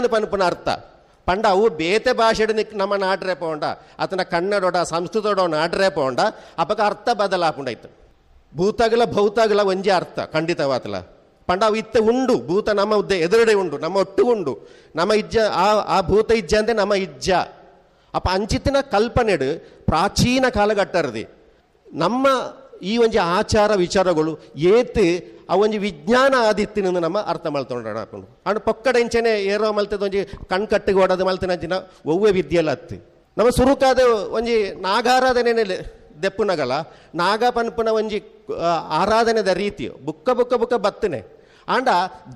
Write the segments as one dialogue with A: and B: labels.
A: ಇಜ್ಜಾಂದು ಪನ್ಪುನ ಅರ್ಥ. ಪಂಡ ಅವು ಬೇತೆ ಭಾಷೆಡ್ ನಮ್ಮ ನಾಡ್ರೆ ಪೋಂಡ ಅತನ ಕನ್ನಡೋಡ ಸಂಸ್ಕೃತೋಡ ನಾಡ್ರೆ ಪೋಂಡ ಅಪಕ ಅರ್ಥ ಬದಲಾಪುಂಡಾಯ್ತು. ಭೂತಗಳ ಭೌತಗಳ ಒಂಜಿ ಅರ್ಥ ಖಂಡಿತವಾತಲ. ಪಂಡ ಅವು ಇತ್ತೆ ಉಂಡು, ಭೂತ ನಮ್ಮ ಉದ್ದೆ ಎದುರುಡೆ ಉಂಡು, ನಮ್ಮ ಒಟ್ಟು ಉಂಡು, ನಮ್ಮ ಇಜ್ಜ ಆ ಆ ಭೂತ ಇಜ್ಜ ಅಂದ್ರೆ ನಮ್ಮ ಇಜ್ಜ. ಅಪ್ಪ ಅಂಚಿತ್ತಿನ ಕಲ್ಪನೆಡು ಪ್ರಾಚೀನ ಕಾಲಘಟ್ಟರದಿ ನಮ್ಮ ಈ ಒಂಜಿ ಆಚಾರ ವಿಚಾರಗಳು ಏತ್ ಆ ಒಂಜಿ ವಿಜ್ಞಾನ ಆದಿತ್ತಿನ ನಮ್ಮ ಅರ್ಥ ಮಲ್ತೊಂಡ ಹಾಕೊಂಡು ಅಂಡ್ ಪೊಕ್ಕಡ ಇಂಚನೆ ಏರೋ ಮಲ್ತದ ಒಂಜಿ ಕಣ್ಕಟ್ಟಿಗೆ ಓಡೋದು ಮಲ್ತಿನ ಒವ್ವೆ ವಿದ್ಯೆಲ್ಲ ಅತ್ತಿ. ನಮ್ಮ ಸುರುಕಾದ ಒಂಜಿ ನಾಗಾರಾಧನೆ ದೆಪ್ಪುನಗಲ ನಾಗ ಪನ್ಪುನ ಒಂಜಿ ಆರಾಧನೆದ ರೀತಿ ಬುಕ್ಕ ಬುಕ್ಕ ಬುಕ್ಕ ಬತ್ತನೆ. ಆಂಡ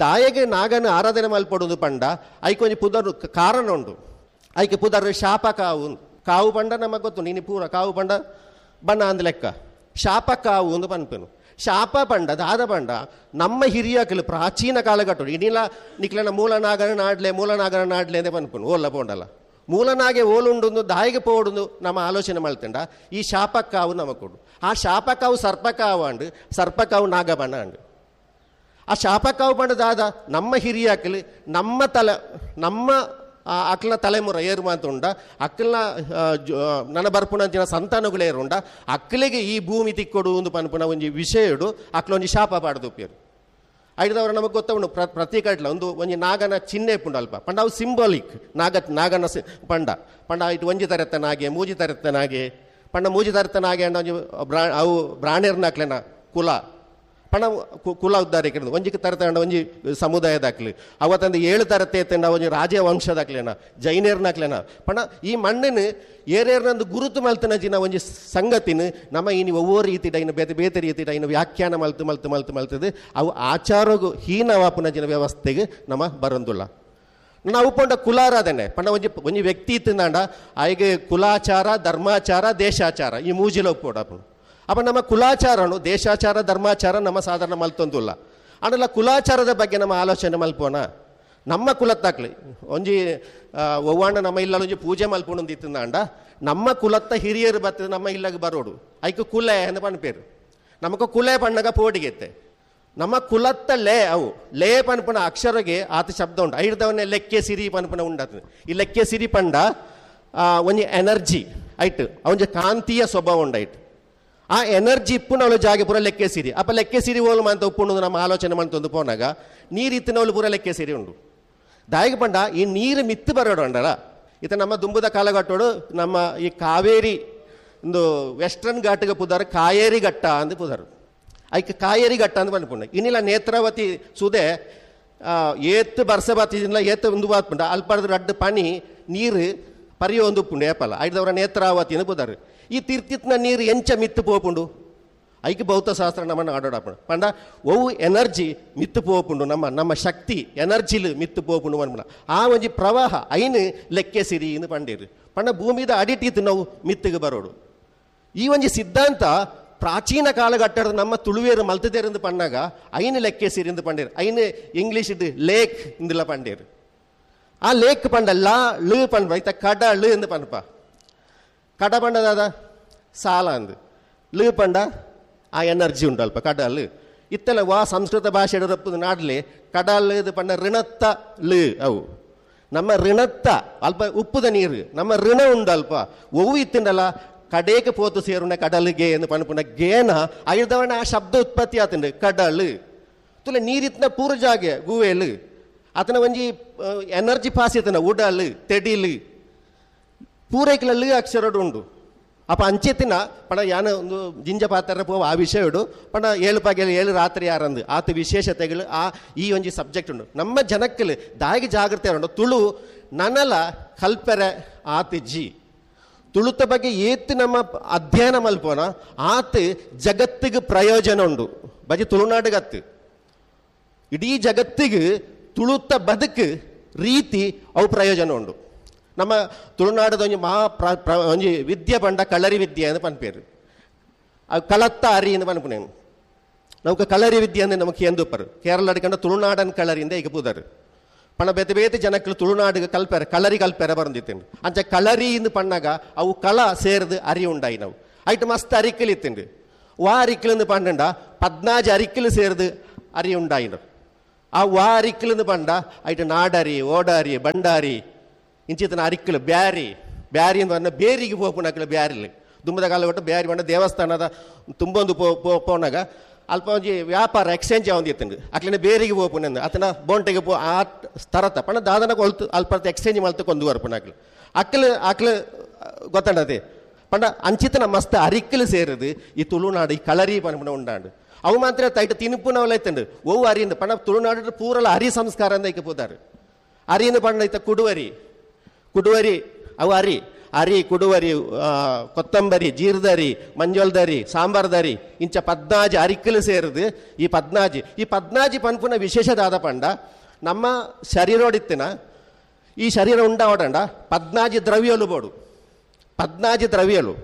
A: ದಾಯಗೆ ನಾಗನ ಆರಾಧನೆ ಮಲ್ಪಡುದು ಪಂಡ ಐಕ್ ಒಂಜಿ ಪುದರ್ ಕಾರಣ ಉಂಡು. ಐಕೆ ಪುದರ್ ಶಾಪ ಕಾವು. ಕಾವು ಪಂಡ ನಮಗೆ ಗೊತ್ತು ನೀನು ಪೂರ ಕಾವು ಪಂಡ ಬಣ್ಣ ಅಂದ ಲೆಕ್ಕ ಶಾಪ ಕಾವು ಒಂದು ಪನ್ಪೆನು. ಶಾಪ ಪಂಡ ದಾದ ಪಂಡ ನಮ್ಮ ಹಿರಿಯಕಲು ಪ್ರಾಚೀನ ಕಾಲಘಟ್ಟು ಇನಿಲ ನಿಕ್ಲನ ಮೂಲನಾಗನ ನಾಡ್ಲೆ ಮೂಲನಾಗನ ನಾಡ್ಲೆ ಅಂದೇ ಪನ್ಪುನು ಓಲ್ಲ ಪೋಂಡಲ್ಲ ಮೂಲನಾಗೆ ಓಲುಂಡು ದಾಯಿಗೆ ಪೋಡುಂದು ನಮ್ಮ ಆಲೋಚನೆ ಮಲ್ತಂಡ ಈ ಶಾಪಕ್ಕಾವು ನಮಕೊಡು. ಆ ಶಾಪಕ್ಕಾವು ಸರ್ಪಕಾವು ಅಂಡು ಸರ್ಪಕಾವು ನಾಗಬಣ್ಣ ಅಂಡು. ಆ ಶಾಪಕ್ಕಾವು ಪಂಡ ದಾದ ನಮ್ಮ ಹಿರಿಯಕಲು ನಮ್ಮ ತಲೆ ನಮ್ಮ ಅಕ್ಲ ತಲೆಮುರ ಏರು ಮಾತುಂಡ ಅಕ್ಕಲ್ನ ನನ್ನ ಬರ್ಪುಣಂಚಿನ ಸಂತಾನಗಳು ಏರುಂಡ ಅಕ್ಕಲಿಗೆ ಈ ಭೂಮಿ ತಿಕ್ಕೊಡು ಒಂದು ಪನ್ಪುನ ಒಂಜಿ ವಿಷಯಡು ಅಕ್ಲೊಂಜಿ ಶಾಪ ಪಾಡ್ದುಪ್ಪಿಯರು. ಐದವರ ನಮಗೆ ಗೊತ್ತವನು ಪ್ರತಿ ಕಟ್ಲ ಒಂದು ಒಂಜಿ ನಾಗನ ಚಿಹ್ನೆ ಪುಂಡು ಅಲ್ಪ ಪಂಡ ಅವು ಸಿಂಬಾಲಿಕ್ ನಾಗ ನಾಗನ ಪಂಡ ಪಂಡ ಇಟ್ಟು ಒಂಜಿ ತರೆತ್ತ ನಾಗೆ ಮೂಜಿ ತರೆತ್ತ ನಾಗೆ ಪಂಡ ಮೂಜಿ ತರೆತ್ತ ನಾಗೆ ಅಂಡ ಒಂಜಿ ಅವು ಬ್ರಾಣೆರ್ನ ಕುಲ ಪಣ ಕುಲ ಉದ್ದಾರಿಕೆ ಒಂಜಿಗೆ ತರತಂಡ ಒಂಜಿ ಸಮುದಾಯದಾಕ್ಲಿ ಅವತ್ತಂದು 7 ತರತೆ ಎತ್ತಂಡ ಒಂಜಿ ರಾಜವಂಶದಾಕ್ಲೇನ ಜೈನೇರ್ನಾಕ್ಲೇನ ಪಣ ಈ ಮಣ್ಣಿನ ಏರೇರ್ನಂದು ಗುರುತು ಮಲ್ತನ ಜಿನ ಒಂಜಿ ಸಂಗತಿನ ನಮ್ಮ ಇನಿ ಒವ್ವೋ ರೀತಿ ಡೈನ ಬೇತೆ ಬೇತೆ ರೀತಿ ಡೈನ ವ್ಯಾಖ್ಯಾನ ಮಲ್ತು ಮಲ್ತು ಮಲ್ತು ಮಲ್ತದೆ ಅವು ಆಚಾರಗು ಹೀನವಾಪುನ ಜಿನ ವ್ಯವಸ್ಥೆಗೆ ನಮ್ಮ ಬರಂದುಲ್ಲ. ನಾವು ಪಂಡ ಕುಲಾರಾಧನೆ ಪಂಡ ಒಂಜಿ ಒಂಜಿ ವ್ಯಕ್ತಿ ಇತ್ತಿಂದಾಂಡ ಆಯ್ಗೆ ಕುಲಾಚಾರ ಧರ್ಮಾಚಾರ ದೇಶಾಚಾರ ಈ ಮೂಜಿಲ ಒಪ್ಪೋಡಪ್ಪನು. ಅಪ್ಪ ನಮ್ಮ ಕುಲಾಚಾರನು ದೇಶಾಚಾರ ಧರ್ಮಾಚಾರ ನಮ್ಮ ಸಾಧಾರಣ ಮಲ್ತೊಂದುಲ್ಲ. ಆಂಡಲ ಕುಲಾಚಾರದ ಬಗ್ಗೆ ನಮ್ಮ ಆಲೋಚನೆ ಮಲ್ಪೋಣ. ನಮ್ಮ ಕುಲತ್ತಾಕ್ಲಿ ಒಂಜಿ ಒವ್ವಾಂಡ ನಮ್ಮ ಇಲ್ಲ ಒಂಜಿ ಪೂಜೆ ಮಲ್ಪೊಂದು ಇತ್ತಿಂದಾಂಡ ನಮ್ಮ ಕುಲತ್ತ ಹಿರಿಯರು ಬರ್ತದೆ ನಮ್ಮ ಇಲ್ಲಗೆ ಬರೋಡು ಐಕ್ ಕುಲ ಅಂತ ಪನ್ಪೇರು. ನಮಕ ಕುಲೆ ಪಣ್ಣಗ ಪೋಡಿಗೆತ್ತೆ ನಮ್ಮ ಕುಲತ್ತ ಲೇ ಅವು ಲೇ ಪನ್ಪುನ ಅಕ್ಷರಗೆ ಆತ ಶಬ್ದ ಉಂಟು. ಐಡ್ದವನ್ನೇ ಲೆಕ್ಕೆ ಸಿರಿ ಪನ್ಪುನ ಉಂಡಾತ. ಈ ಲೆಕ್ಕೆ ಸಿರಿ ಪಂಡ ಒಂಜಿ ಎನರ್ಜಿ ಐಟ್ ಒಂಜಿ ಕಾಂತೀಯ ಸ್ವಭಾವ ಉಂಡೈಟ್. ಆ ಎನರ್ಜಿ ಇಪ್ಪುನವಳು ಜಾಗೆ ಪೂರ ಲೆಕ್ಕೆ ಸಿರಿ. ಅಪ್ಪ ಲೆಕ್ಕೆ ಸಿರಿ ಓಲು ಅಂತ ಉಪ್ಪುಂಡು ನಮ್ಮ ಆಲೋಚನೆ ಮಂತೊಂದು ಪೋನಾಗ ನೀರು ಇತ್ತಿನವಳು ಪೂರ ಲೆಕ್ಕೆ ಸಿರಿ ಉಂಡು. ದಾಯಿಗೆ ಪಂಡ ಈ ನೀರು ಮಿತ್ತು ಬರೋಡು ಅಂಡಲ್ಲ ಇತ ನಮ್ಮ ದುಂಬುದ ಕಾಲಘಟ್ಟೋಡು ನಮ್ಮ ಈ ಕಾವೇರಿ ಒಂದು ವೆಸ್ಟರ್ನ್ ಘಾಟಿಗೆ ಪುದಾರು ಕಾಯೇರಿ ಘಟ್ಟ ಅಂದ್ ಪುದಾರು. ಐಕ್ ಕಾಯೇರಿ ಘಟ್ಟ ಅಂದ್ ಪನ್ಪುಂಡು. ಇನ್ನಿಲ್ಲ ನೇತ್ರಾವತಿ ಸುದೆ ಏತ್ತು ಬರ್ಸ ಬಾತಿಲ್ಲ ಏತ್ತು ಒಂದು ಬಾತ್ಪುಂಡ ಅಲ್ಪಡ್ದು ರಡ್ಡು ಪನಿ ನೀರು ಪರಿಯೋ ಒಂದು ಉಪ್ಪುಂಡು ಏಪಲ್ಲ ಐದವರ ನೇತ್ರಾವತಿ ಅಂದ್ ಪುದಾರು. ಈ ತೀರ್ಥಿತ್ನ ನೀರು ಎಂಚ ಮಿತ್ತು ಪೋಪುಂಡು ಐಕ್ ಭೌತಶಾಸ್ತ್ರ ನಮ್ಮನ್ನು ಆಡೋಡಪ್ಪಣ ಪಂಡ ಒವು ಎನರ್ಜಿ ಮಿತ್ತು ಪೋಪುಂಡು ನಮ್ಮ ನಮ್ಮ ಶಕ್ತಿ ಎನರ್ಜಿಲು ಮಿತ್ತು ಪೋಪುಂಡು ಪನ್ಪುಂಡ ಆ ಒಂಜಿ ಪ್ರವಾಹ ಐನು ಲೆಕ್ಕೆ ಸಿರಿ ಇಂದು ಪಂಡೀರು. ಪಂಡ ಭೂಮಿದ ಅಡಿಟಿತ್ತು ನಾವು ಮಿತ್ತಿಗೆ ಬರೋಡು. ಈ ಒಂಜಿ ಸಿದ್ಧಾಂತ ಪ್ರಾಚೀನ ಕಾಲಘಟ್ಟದ ನಮ್ಮ ತುಳುವೇರು ಮಲ್ತದೇರೆಂದು ಪಣ್ಣಾಗ ಐನು ಲೆಕ್ಕೆ ಸಿರಿ ಎಂದು ಪಂಡೀರು. ಐನು ಇಂಗ್ಲೀಷ್ ಇದ್ದು ಲೇಕ್ ಇಂದಿಲ್ಲ ಪಂಡೀರು. ಆ ಲೇಕ್ ಪಂಡ ಲಾ ಳು ಪಂಡ ಐತ ಕಡ ಳು ಎಂದು ಪನ್ಪ. ಕಡ ಪಂಡದಾದ ಸಾಲ ಅಂದು ಳು ಪಂಡ ಆ ಎನರ್ಜಿ ಉಂಟು ಅಲ್ಪ ಕಡಲ್ ಇತ್ತೆಲ್ಲ ವಾ ಸಂಸ್ಕೃತ ಭಾಷೆ ನಾಡಲಿ ಕಡಲ್ ಇದು ಪಂಡ ಋಣತ್ತ ಳು ಅವು ನಮ್ಮ ಋಣತ್ತ ಅಲ್ಪ ಉಪ್ಪುದ ನೀರು ನಮ್ಮ ಋಣ ಉಂಡು ಅಲ್ಪ ಒವು ಇತ್ತಿಂಡಲ್ಲ ಕಡೇಗೆ ಪೋತು ಸೇರುನ ಕಡಲ್ಗೆ ಎಂದು ಪನ್ಪುನ ಗೇನ ಐದವನ ಆ ಶಬ್ದ ಉತ್ಪತ್ತಿ ಆತಂಡು ಕಡಲ್ ತುಲೆ ನೀರಿತ್ತಿನ ಪೂರ ಜಾಗೆ ಗುವೇಲು ಆತನ ಒಂಜಿ ಎನರ್ಜಿ ಪಾಸ್ ಇತ್ತನ ಉಡಲ್ ತೆಡಿಲು ಪೂರೈಕಲಲ್ಲಿ ಅಕ್ಷರಡು ಉಂಡು. ಅಪ್ಪ ಅಂಚೆತ್ತಿನ ಪಣ ಯಾನ ಒಂದು ಜಿಂಜ ಪಾತ್ರ ಪೋವ ಆ ವಿಷಯಡು ಪಣ 7 ಪಗೆಲು 7 ರಾತ್ರಿ ಯಾರಂದು ಆತ ವಿಶೇಷತೆಗಳು ಆ ಈ ಒಂಜಿ ಸಬ್ಜೆಕ್ಟ್ ಉಂಡು. ನಮ್ಮ ಜನಕ್ಕಲು ದಾಯಿಗೆ ಜಾಗೃತಿ ಉಂಡು. ತುಳು ನನಲ ಕಲ್ಪೆರೆ ಆತ ಜಿ ತುಳುತ ಬಗ್ಗೆ ಏತ್ ನಮ್ಮ ಅಧ್ಯಯನ ಮಲ್ಪೋನ ಆತ ಜಗತ್ತಿಗೆ ಪ್ರಯೋಜನ ಉಂಡು. ಬಜಿ ತುಳುನಾಡಿಗತ್ತು ಇಡೀ ಜಗತ್ತಿಗೆ ತುಳುತ ಬದುಕು ರೀತಿ ಅವು ಪ್ರಯೋಜನ ಉಂಡು. ನಮ್ಮ ತುಳುನಾಡದ ಒಂಜಿ ಮಹಾ ಒಂಜಿ ವಿದ್ಯೆ ಪಂಡ ಕಳರಿ ವಿದ್ಯೆ ಅಂತ ಪನ್ಪೇರು. ಅವು ಕಳತ್ತ ಅರಿ ಅಂತ ಪನ್ಪುನೇನು. ನಮಕ್ ಕಳರಿ ವಿದ್ಯೆ ಅಂದ್ರೆ ನಮಕ್ ಎಂದುಪ್ಪರು ಕೇರಳ ಅಡಿಕಂಡ ತುಳುನಾಡನ್ ಕಳರಿಂದ ಈಗ ಪೂದರು ಪಣ ಬೇತೆ ಬೇತೆ ಜನಕ್ಕಳು ತುಳುನಾಡಿಗೆ ಕಲ್ಪೆರೆ ಕಳರಿ ಕಲ್ಪೆರೆ ಬರಂದಿತ್ತೇನು. ಅಂಚ ಕಳರಿ ಇಂದು ಪಣ್ಣಾಗ ಅವು ಕಳ ಸೇರ್ದು ಅರಿ ಉಂಡಾಯಿ ನಾವು ಐಟ್ ಮಸ್ತ್ ಅರಿಕಲ್ ಇತ್ತುಂಡು. ವಾ ಅರಿಕಲ್ ಪಂಡಂಡ 14 ಅರಿಕಲ್ ಸೇರ್ದು ಅರಿ ಉಂಡಾಯಿನ. ಆ ವಾ ಅರಿಕ್ಕಲು ಪಂಡ ಐಟ್ ನಾಡರಿ, ಓಡಾರಿ, ಬಂಡಾರಿ ಇಂಚಿತನ ಅರಿಕ್ಕಲು. ಬ್ಯಾರಿ, ಬ್ಯಾರಿ ಅಂತ ಬೇರಿಗೆ ಪೋಪುನಕ್ಲು ಬ್ಯಾರಿಲು. ದುಂಬದ ಕಾಲ ಒಟ್ಟು ಬ್ಯಾರಿ ಪಂಡ ದೇವಸ್ಥಾನದ ತುಂಬೊಂದು ಪೋನಾಗ ಅಲ್ಪ ಒಂಜಿ ವ್ಯಾಪಾರ ಎಕ್ಸ್ಚೇಂಜ್ ಆವೊಂದಿತ್ತುಂಡು. ಅಕ್ಲೆನ ಬೇರಿಗೆ ಪೋಪುನಂದು ಅತನ ಬೋಂಟೆಗೆ ಪೋ ಆ ತರತ ಪಂಡ ದಾದನ ಕೊಲ್ತು ಅಲ್ಪ ಎಕ್ಸ್ಚೇಂಜ್ ಮಲ್ತು ಕೊಂದು ಬರ್ಪುನಕ್ಲು. ಅಕ್ಲು ಅಕ್ಲು ಗೊತ್ತಂಡತೆ ಪಂಡ ಅಂಚಿತನ ಮಸ್ತ್ ಅರಿಕ್ಕಲು ಸೇರುದು ಈ ತುಳುನಾಡು ಈ ಕಳರಿ ಪನ್ಪುನ ಉಂಡಾಂಡು. ಅವು ಮಾತ್ರ ತೈಟ ತಿನ್ಪುನವಲ ಇತ್ತುಂಡು. ಒವು ಅರಿಯಿಂದ ಪಂಡ ತುಳುನಾಡು ಪೂರಲ ಅರಿ ಸಂಸ್ಕಾರ ಅಂದ ಐಕೆ ಪೋದಾರು. ಅರಿಯಿಂದ ಪಂಡ ಇತ್ತ ಕುಡುವರಿ, ಕುಡುವರಿ ಅವು ಅರಿ, ಅರಿ ಕುಡುವರಿ, ಕೊತ್ತಂಬರಿ, ಜೀರ್ದರಿ, ಮಂಜೋಲ್ದರಿ, ಸಾಂಬಾರ್ದರಿ ಇಂಚ ಪದ್ನಾಜಿ ಅರಿಕ್ಕಲು ಸೇರುದು ಈ ಪದ್ನಾಜಿ. ಈ ಪದ್ನಾಜಿ ಪನ್ಪುನ ವಿಶೇಷದಾದ ಪಂಡ ನಮ್ಮ ಶರೀರೋಡಿತ್ತಿನ ಈ ಶರೀರ ಉಂಡಾವಡಂಡ ಪದ್ನಾಜಿ ದ್ರವ್ಯಲು ಬೋಡು. ಪದ್ನಾಜಿ ದ್ರವ್ಯಲು,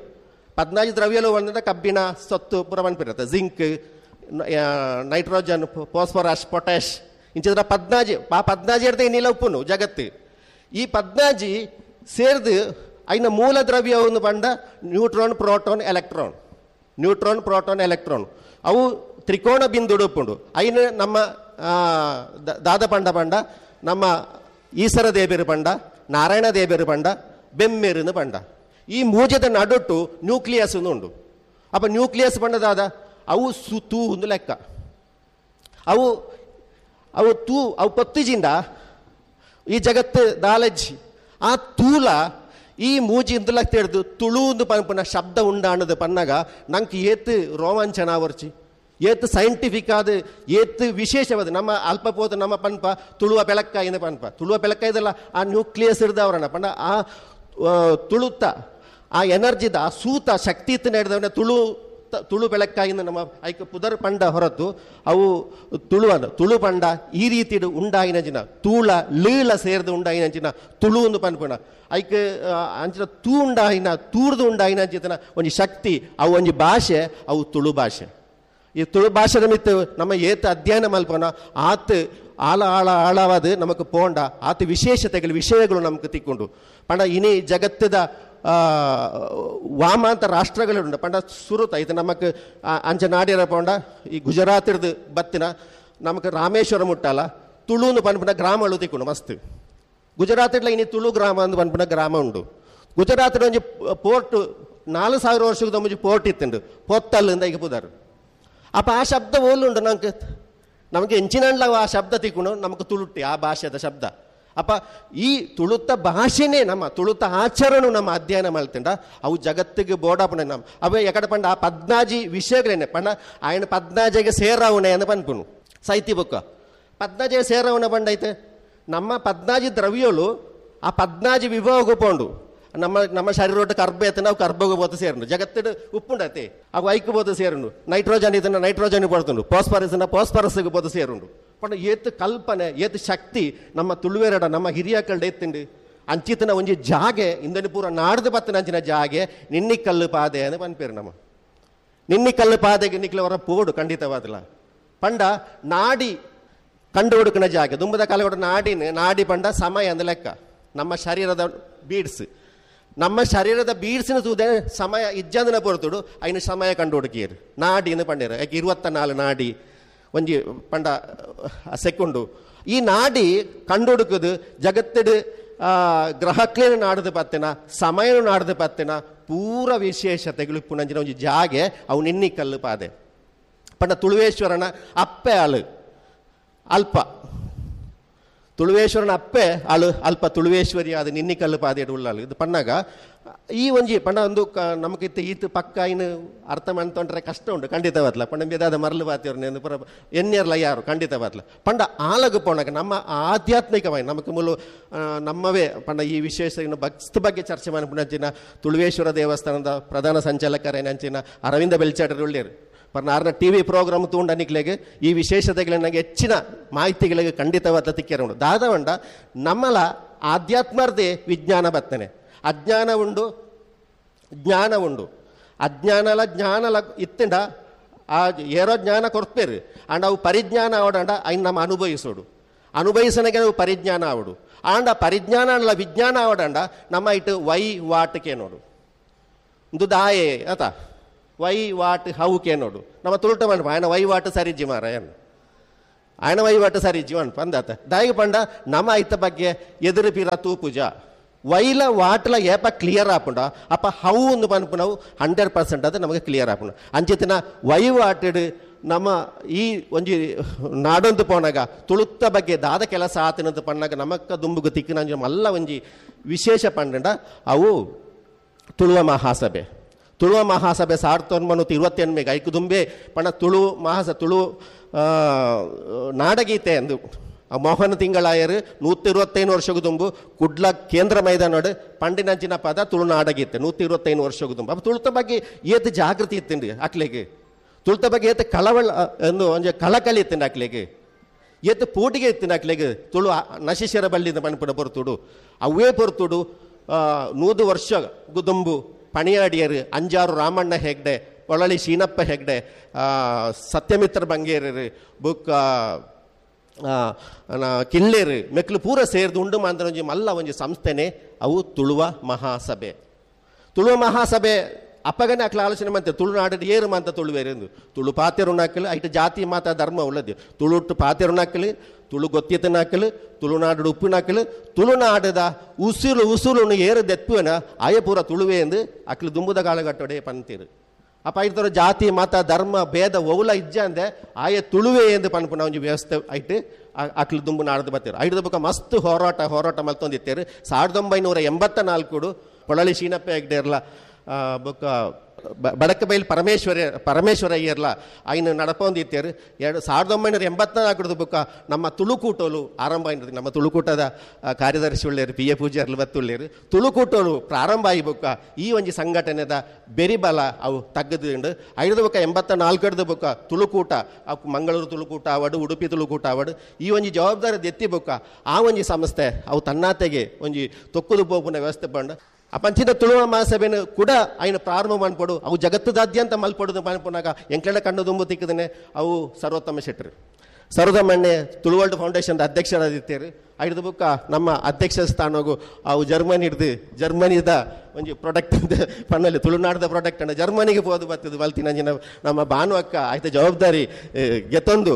A: ಪದ್ನಾಜಿ ದ್ರವ್ಯಲು ಒಂದಂದ್ರೆ ಕಬ್ಬಿಣ ಸೊತ್ತು ಪೂರ ಪನ್ಪಿರತ್ತೆ, zinc, nitrogen, phosphorus, potash ಇಂಚಿದ್ರ ಪದ್ನಾಜಿ. ಆ ಪದ್ನಾಜಿ ಹಿಡ್ದು ನೀಲ ಉಪ್ಪುನು ಜಗತ್ತು. ಈ ಪದ್ನಾಜಿ ಸೇರ್ದು ಐನ ಮೂಲ ದ್ರವ್ಯ ಒಂದು ಪಂಡ neutron, proton, electron. Neutron, proton, electron ಅವು ತ್ರಿಕೋಣ ಬಿಂದು ಉಪ್ಪುಂಡು. ಐನ ನಮ್ಮ ದಾದ ಪಂಡ ಪಂಡ ನಮ್ಮ ಈಸರ ದೇಬೇರು ಪಂಡ, ನಾರಾಯಣ ದೇಬೇರು ಪಂಡ, ಬೆಮ್ಮೇರುನು ಪಂಡ. ಈ ಮೂಜದ ನಡುಟ್ಟು ನ್ಯೂಕ್ಲಿಯಸ್ ಉಂಡು. ಅಪ್ಪ ನ್ಯೂಕ್ಲಿಯಸ್ ಪಂಡದಾದ ಅವು ತೂ ಒಂದು ಲೆಕ್ಕ. ಅವು ಅವು ತೂ ಅವು ಪತ್ತಿಜಿಂದ ಈ ಜಗತ್ತು ದಾಲಜ್ಜಿ ಆ ತೂಲ ಈ ಮೂಜಿ ಇಂದುಲ ತೆರೆದು ತುಳು ಪನ್ಪುನ ಶಬ್ದ ಉಂಡಾಣದು ಪನ್ನಾಗ ನಂಗೆ ಏತು ರೋಮಾಂಚನ ಆವರ್ಚಿ, ಏತು ಸೈಂಟಿಫಿಕ್ ಆದ, ಏತು ವಿಶೇಷವಾದ. ನಮ್ಮ ಅಲ್ಪ ಪೋತು ನಮ್ಮ ಪನ್ಪ ತುಳುವ ಬೆಳಕಾಯಿನ ಪನ್ಪ, ತುಳುವ ಬೆಳಕಾಯ್ದಲ್ಲ ಆ ನ್ಯೂಕ್ಲಿಯಸ್ ಹಿಡ್ದವ್ರನ್ನ ಪಂಡ ಆ ತುಳುತ್ತ ಆ ಎನರ್ಜಿದ ಆ ಸೂತ ಶಕ್ತಿ ಇತ್ತು ಹಿಡ್ದವನ ತುಳು ತುಳು ಬೆಳಕಾಯಿನ ನಮ್ಮ ಐಕ ಪುದರ್ ಪಂಡ ಹೊರತು ಅವು ತುಳುವನ ತುಳು ಪಂಡ ಈ ರೀತಿ ಉಂಡಾಯಿನ ಜಿನ ತೂಳ ಲೀಳ ಸೇರ್ದು ಉಂಡಾಯಿನ ಅಂಚಿನ ತುಳು ಒಂದು ಪನ್ಪುಣ ಐಕ್ ಅಂಚಿನ ತೂ ಉಂಡಾಯಿನ ತೂರ್ದು ಉಂಡಾಯಿನ ಅಂಚಿನ ಒಂಜಿ ಶಕ್ತಿ ಅವು ಒಂಜಿ ಭಾಷೆ ಅವು ತುಳು ಭಾಷೆ. ಈ ತುಳು ಭಾಷೆದ ಮಿತ್ತು ನಮ್ಮ ಏತ ಅಧ್ಯಯನ ಮಲ್ಪನ ಆತ್ ಆಳ ಆಳ ಆಳವಾದ ನಮಕ್ ಪೋಂಡ ಆತ ವಿಶೇಷತೆಗಳು ವಿಷಯಗಳು ನಮಕ್ ತಿಕ್ಕೊಂಡು ಪಂಡ ಇನಿ ಜಗತ್ತದ ವಾಮಾಂತ ರಾಷ್ಟ್ರಗಳುಂಡು ಪಂಡ ಸುರುತ ಇದು ನಮಕ್ ಅಂಚ ನಾಡಿರ ಪೋಂಡ ಈ ಗುಜರಾತಿರ್ದು ಬತ್ತಿನ ನಮಕ್ ರಾಮೇಶ್ವರ ಮುಟ್ಟಲ್ಲ ತುಳುನು ಪನ್ಪುನ ಗ್ರಾಮಗಳು ತಿಕ್ಕೊಂಡು ಮಸ್ತ್. ಗುಜರಾತಿಡ್ಲ ಇನಿ ತುಳು ಗ್ರಾಮ ಅಂದು ಪನ್ಪುನ ಗ್ರಾಮ ಉಂಡು. ಗುಜರಾತಿನ ಒಂಜಿ ಪೋರ್ಟ್ 4000 ವರ್ಷದ ಮುಂಚೆ ಪೋರ್ಟ್ ಇತ್ತುಂಡು ಪೊತ್ತಲ್ಲಿಂದ ಈಗ ಪುದಾರು. ಅಪ್ಪ ಆ ಶಬ್ದ ಓಲುಂಡು ನಂಗೆ ನಮಗೆ ಎಂಚಿನಂಡ್ಲ ಆ ಶಬ್ದ ತಿಕ್ಕೊಂಡು ನಮಗೆ ತುಳುಟ್ಟಿ ಆ ಭಾಷೆದ ಶಬ್ದ. ಅಪ್ಪ ಈ ತುಳುತ್ತ ಭಾಷೆನೇ ನಮ್ಮ ತುಳುತ್ತ ಆಚರಣೆ ನಮ್ಮ ಅಧ್ಯಯನ ಮಾಡ್ತಂಡ ಅವು ಜಗತ್ತಿಗೆ ಬೋಡಾಪುಣ ನಮ್ಮ ಅವೇ ಎಕಡೆ ಪಂಡ ಆ ಪದ್ನಾಜಿ ವಿಷಯಗಳೇನೆ ಪಂಡ ఆయన ಪದ್ನಾಜಿಗೆ ಸೇರಾವಣೆ ಅಂತ ಪನ್ಪುನು ಸಾಹಿತ್ಯ ಬುಕ್ಕ ಪದ್ನಾಜಿಗೆ ಸೇರಾವಣೆ ಪಂಡೈತೆ ನಮ್ಮ ಪದ್ನಾಜಿ ದ್ರವ್ಯಗಳು ಆ ಪದ್ನಾಜಿ ವಿಭಾಗ ಪೋಂಡು ನಮ್ಮ ನಮ್ಮ ಶರೀರ ಕರ್ಬ ಎತ್ತ ನಾವು ಕರ್ಬಗೆ పోతే ಸೇರುಂಡು ಜಗತ್ತಿಡು ಉಪ್ಪುಂಡತೆ ಅವು ಐಕ್ పోతే ಸೇರುಂಡು ನೈಟ್ರೋಜನ್ ಇದನ್ನ ನೈಟ್ರೋಜನ್ ಪಡ್ತುಂಡು ಫಾಸ್ಫರಸ್ ಫಾಸ್ಫರಸ್ಗೆ పోతే ಸೇರುಂಡು. ಪಂಡ ಏತು ಕಲ್ಪನೆ ಏತು ಶಕ್ತಿ ನಮ್ಮ ತುಳುವೆರಡ ನಮ್ಮ ಹಿರಿಯಕಲ್ಡ ಎತ್ತುಂಡು ಅಂಚಿತನ ಒಂಜಿ ಜಾಗೆ ಇಂದನಿ ಪೂರ ನಾಡ್ದು ಬತ್ತಿನ ಅಂಚಿನ ಜಾಗೆ ನಿನ್ನಿ ಕಲ್ಲು ಪಾದೆ ಅಂತ ಪನ್ಪೇರು ನಮ್ಮ ನಿನ್ನಿ ಕಲ್ಲು ಪಾದೆಗೆ ನಿಕ್ಲವರ ಪೋಡು ಖಂಡಿತವಾದಲ ಪಂಡ ನಾಡಿ ಕಂಡು ಹುಡುಕನ ಜಾಗೆ ದುಂಬದ ಕಾಲಗೊಡ ನಾಡಿನ ನಾಡಿ ಪಂಡ ಸಮಯ ಅಂದ ಲೆಕ್ಕ ನಮ್ಮ ಶರೀರದ ಬೀಡ್ಸ್ ನಮ್ಮ ಶರೀರದ ಬೀಡ್ಸಿನ ತೂದೆ ಸಮಯ ಇಜ್ಜಂದನ ಪೊರ್ತುಡು ಐನ ಸಮಯ ಕಂಡು ಹುಡುಕಿಯರು ನಾಡಿನ ಪಂಡೇರು ಯಾಕೆ 24 ನಾಡಿ ಒಂಜಿ ಪಂಡ ಸೆಕೊಂಡು ಈ ನಾಡಿ ಕಂಡು ಹುಡುಕುದು ಜಗತ್ತಿಡು ಗ್ರಹಕ್ಲೇನು ನಾಡದು ಪತ್ತಿನ ಸಮಯನು ನಾಡದು ಪತ್ತಿನ ಪೂರ ವಿಶೇಷತೆಗಳು ಇಪ್ಪುನಂಚಿನ ಒಂಜಿ ಜಾಗೆ ಅವು ನಿನ್ನಿ ಕಲ್ಲು ಪಾದೆ ಪಂಡ ತುಳುವೇಶ್ವರನ ಅಪ್ಪೆ ಅಳು ಅಲ್ಪ ತುಳುವೇಶ್ವರನ ಅಪ್ಪೆ ಅಳು ಅಲ್ಪ ತುಳುವೇಶ್ವರಿ ಅದು ನಿನ್ನಿ ಕಲ್ಲು ಪಾದೆ ಉಳ್ಳಾಳು ಇದು ಪಣ್ಣಾಗ ಈ ಒಂಜಿ ಪಂಡ ಒಂದು ನಮಗಿತ್ತು ಈತು ಪಕ್ಕ ಇನ್ನು ಅರ್ಥ ಮಾಡ್ತೊಂಡ್ರೆ ಕಷ್ಟ ಉಂಟು ಖಂಡಿತವಾದ್ಲ ಪಂಡ ಬೇದಾದ ಮರಳು ಬಾತಿಯವ್ರನ್ನ ಪುರ ಎನ್ನೇರ್ಲ ಯಾರು ಖಂಡಿತವಾದ್ಲ ಪಂಡ ಆಲಗು ಪೋಣಗ ನಮ್ಮ ಆಧ್ಯಾತ್ಮಿಕವಾಗಿ ನಮಕ್ ಮೂಲು ನಮ್ಮವೇ ಪಂಡ ಈ ವಿಶೇಷ ಇನ್ನು ಭಕ್ತ ಬಗ್ಗೆ ಚರ್ಚೆ ಮಾಡ್ಪುನಂಚಿನ ತುಳುವೇಶ್ವರ ದೇವಸ್ಥಾನದ ಪ್ರಧಾನ ಸಂಚಾಲಕರೇನಂಚಿನ ಅರವಿಂದ ಬೆಲ್ಚಾಟರು ಉಳ್ಳೇರು ಪರ್ ನಾರ್ನ T V program ತೂಂಡ ನಿಕ್ಲೆಗ್ ಈ ವಿಶೇಷತೆಗಳಿಗೆ ಹೆಚ್ಚಿನ ಮಾಹಿತಿಗಳಿಗೆ ಖಂಡಿತವಾದ ತಿಕ್ಕೆರ ಉಂಡು. ದಾದವಂಡ ನಮ್ಮಲ ಆಧ್ಯಾತ್ಮರ್ದೇ ವಿಜ್ಞಾನ ಬರ್ತನೆ ಅಜ್ಞಾನ ಉಂಡು ಜ್ಞಾನ ಉಂಡು ಅಜ್ಞಾನಲ ಜ್ಞಾನಲ ಇತ್ತಂಡ ಆ ಏರೋ ಜ್ಞಾನ ಕೊರ್ಪೇರು ಅಂಡ್ ಅವು ಪರಿಜ್ಞಾನ ಆವಡಂಡ ಐನ್ ನಮ್ಮ ಅನುಭವಿಸೋಡು ಅನುಭವಿಸನಗೆ ಅವು ಪರಿಜ್ಞಾನ ಆವಡು ಆಂಡ ಪರಿಜ್ಞಾನ ಅಲ್ಲ ವಿಜ್ಞಾನ ಆವಡಂಡ ನಮ್ಮ ಇಟ್ಟು ವೈ ವಾಟ್ಕೆ ನೋಡು ಇಂದು ದಾಯೆ ಆತ why what how K ನೋಡು ನಮ್ಮ ತುಳುಟ ಮಂಡಪ ఆయన why what ಸರಿಜಿ ಮಾರ ಏನು ಆಯನ ವಹಿವಾಟು ಸರಿ ಜೀವನ್ ಪಂದಾತ ದಾಯಿಗೆ ಪಂಡ ನಮ್ಮ ಐತ ಬಗ್ಗೆ ಎದುರು ಪಿರ ತೂಪುಜ ವೈಲ ವಾಟ್ಲ ಏಪ ಕ್ಲಿಯರ್ ಆಪುಂಡ ಅಪ್ಪ how ಒಂದು ಪನ್ಪುನವು 100% ಅದು ನಮಗೆ ಕ್ಲಿಯರ್ ಆಪುಂಡು. ಅಂಚಿತಿನ ವಹಿವಾಟೆಡ್ ನಮ್ಮ ಈ ಒಂಜಿ ನಾಡೊಂದು ಪೋನಾಗ ತುಳುತ್ತ ಬಗ್ಗೆ ದಾದ ಕೆಲಸ ಆತನಂತ ಪಣ್ಣಾಗ ನಮಕ್ಕ ದುಂಬುಗು ತಿಕ್ಕಿನ ಮಲ್ಲ ಒಂಜಿ ವಿಶೇಷ ಪಂಡ ಅವು ತುಳುವ ಮಹಾಸಭೆ. ತುಳುವ ಮಹಾಸಭೆ 1928 ಐಕು ದುಂಬೆ ಪಣ ತುಳು ಮಹಾಸ ತುಳು ನಾಡಗೀತೆ ಎಂದು ಮೋಹನ ತಿಂಗಳಾಯರು 125 ವರ್ಷಗೂ ದುಂಬು ಕುಡ್ಲ ಕೇಂದ್ರ ಮೈದಾನೋಡು ಪಂಡಿನಂಚಿನ ಪದ ತುಳು ನಾಡಗೀತೆ 125 ವರ್ಷಗೂ ದುಂಬು. ಅಪ್ಪ ತುಳುತ ಬಗ್ಗೆ ಏತ್ ಜಾಗೃತಿ ಇತ್ತಿಂಡು ಅಕ್ಲೆಗೆ, ತುಳುತ ಬಗ್ಗೆ ಏತ್ ಕಳವಳ ಎಂದು ಒಂಜಿ ಕಳಕಳಿ ಇತ್ತಿಂಡು ಅಕ್ಲೆಗೆ, ಏತ್ ಪೂಟಿಗೆ ಇತ್ತಿಂಡು ಅಕ್ಲೆಗೆ ತುಳು ನಶಿಶರ ಬಳ್ಳಿಂದ ಪಣಪುಡ ಪೊರ್ತುಡು ಅವೇ ಪೊರ್ತುಡು 100 ವರ್ಷ ದುಂಬು ಪಣಿಯಾಡಿಯರು ಅಂಜಾರು ರಾಮಣ್ಣ ಹೆಗ್ಡೆ, ಪೊಳಲಿ ಶೀನಪ್ಪ ಹೆಗ್ಡೆ, ಸತ್ಯಮಿತ್ರ ಬಂಗೇರರು, ಬುಕ್ ಕಿಲ್ಲೇರು ಮೆಕ್ಲು ಪೂರ ಸೇರಿದು ಉಂಡು ಮಾಂದ್ರ ಮಲ್ಲ ಒಂಜಿ ಸಂಸ್ಥೆನೆ ಅವು ತುಳುವ ಮಹಾಸಭೆ. ತುಳುವ ಮಹಾಸಭೆ ಅಪ್ಪಗನೆ ಅಕ್ಲ ಆಲೋಚನೆ ಮಂತೆ ತುಳುನಾಡು ಏರು ಮಾಂತ ತುಳುವೇರು ತುಳು ಪಾತೆರುಣಾಕಲು ಐಟ ಜಾತಿ ಮಾತ ಧರ್ಮ ಉಳ್ಳದು ತುಳುಟ್ಟು ಪಾತೆರುಣಾಕಲು ತುಳು ಗೊತ್ತಿತನಾಕಲು ತುಳುನಾಡು ಉಪ್ಪಿನಾಕಲು ತುಳುನಾಡದ ಉಸಿರು ಉಸುರುನು ಏರು ದೆಪ್ಪುವನ ಆಯ ಪೂರ ತುಳುವೆ ಎಂದು ಅಕ್ಲು ದುಂಬುದ ಕಾಲಗಟ್ಟೊಡೆ ಪಂತೀರು. ಅಪ್ಪ ಐತರ ಜಾತಿ ಮತ ಧರ್ಮ ಭೇದ ಒವುಲ ಇಜ್ಜ ಅಂದೆ ಆಯ ತುಳುವೆ ಎಂದು ಪನ್ಪುನ ಒಂಜಿ ವ್ಯವಸ್ಥೆ ಐಟ್ ಅಕ್ಲು ದುಂಬು ನಾಡ್ದು ಬರ್ತೀರು. ಐದು ಬೊಕ್ಕ ಮಸ್ತ್ ಹೋರಾಟ ಹೋರಾಟ ಮಲ್ತೊಂದಿತ್ತೇರು. 1984 ಪೊಳಲಿ ಶೀನಪ್ಪ ಹೆಗ್ಡೆರ್ಲ ಬೊಕ್ಕ ಬಡಕಬೈಲ್ ಪರಮೇಶ್ವರ ಅಯ್ಯರ್ಲ ಐನು ನಡಪೊಂದಿತ್ತೇರು. 1984 ಬೊಕ್ಕ ನಮ್ಮ ತುಳುಕೂಟೋಲು ಆರಂಭ ಆಯ್ತು. ನಮ್ಮ ತುಳುಕೂಟದ ಕಾರ್ಯದರ್ಶಿ ಉಳ್ಳೇರು ಪಿ ಎ ಪೂಜಾರ್ಲು ಬತ್ತುಳ್ಳೇರು. ತುಳುಕೂಟೋಲು ಪ್ರಾರಂಭ ಆಯಿ ಬೊಕ್ಕ ಈ ಒಂಜಿ ಸಂಘಟನೆದ ಬೆರಿಬಲ ಅವು ತಗ್ಗದುಂಡು. ಐದು ಬೊಕ್ಕ 84 ಬೊಕ್ಕ ತುಳುಕೂಟ ಅವು ಮಂಗಳೂರು ತುಳುಕೂಟ ಆವಡು ಉಡುಪಿ ತುಳುಕೂಟ ಆವಡು ಈ ಒಂಜಿ ಜವಾಬ್ದಾರಿ ಎತ್ತಿ ಬೊಕ್ಕ ಆ ಒಂಜಿ ಸಂಸ್ಥೆ ಅವು ತನ್ನಾತೆಗೆ ಒಂಜಿ ತೊಕ್ಕುದು ಪೋಪುನ ವ್ಯವಸ್ಥೆ ಪಂಡ ಅಪಂಚಿನ ತುಳುವ ಮಹಾಸಭೆನು ಕೂಡ ಆಯ್ನ ಪ್ರಾರಂಭ ಮನ್ಪೊಡು ಅವು ಜಗತ್ತದಾದ್ಯಂತ ಮಲ್ಪೊಡುದು ಮನ್ಪುನಾಗ ಎಂಕ್ಲೆಡ ಕಣ್ಣು ದುಂಬು ತಿಕ್ಕದನೆ ಅವು ಸರ್ವೋತ್ತಮ ಶೆಟ್ಟರು. ಸರ್ವೋತ್ತಮಣ್ಣೆ ತುಳುವರ್ಲ್ಡ್ ಫೌಂಡೇಶನ್ ಅಧ್ಯಕ್ಷರಾದಿತ್ತೇರು. ಐದು ಬುಕ್ಕ ನಮ್ಮ ಅಧ್ಯಕ್ಷ ಸ್ಥಾನಗು ಅವು ಜರ್ಮನಿ ಹಿಡ್ದು ಜರ್ಮನಿದ ಒಂಜಿ ಪ್ರಾಡಕ್ಟ್ ಪಣ್ಣಲ್ಲಿ ತುಳುನಾಡದ ಪ್ರಾಡಕ್ಟ್ ಅನ್ನ ಜರ್ಮನಿಗೆ ಹೋದು ಬರ್ತದೆ ಬಲ್ತಿನಂಜಿನ ನಮ್ಮ ಭಾನು ಅಕ್ಕ ಆಯ್ತ ಜವಾಬ್ದಾರಿ ಗೆತ್ತೊಂದು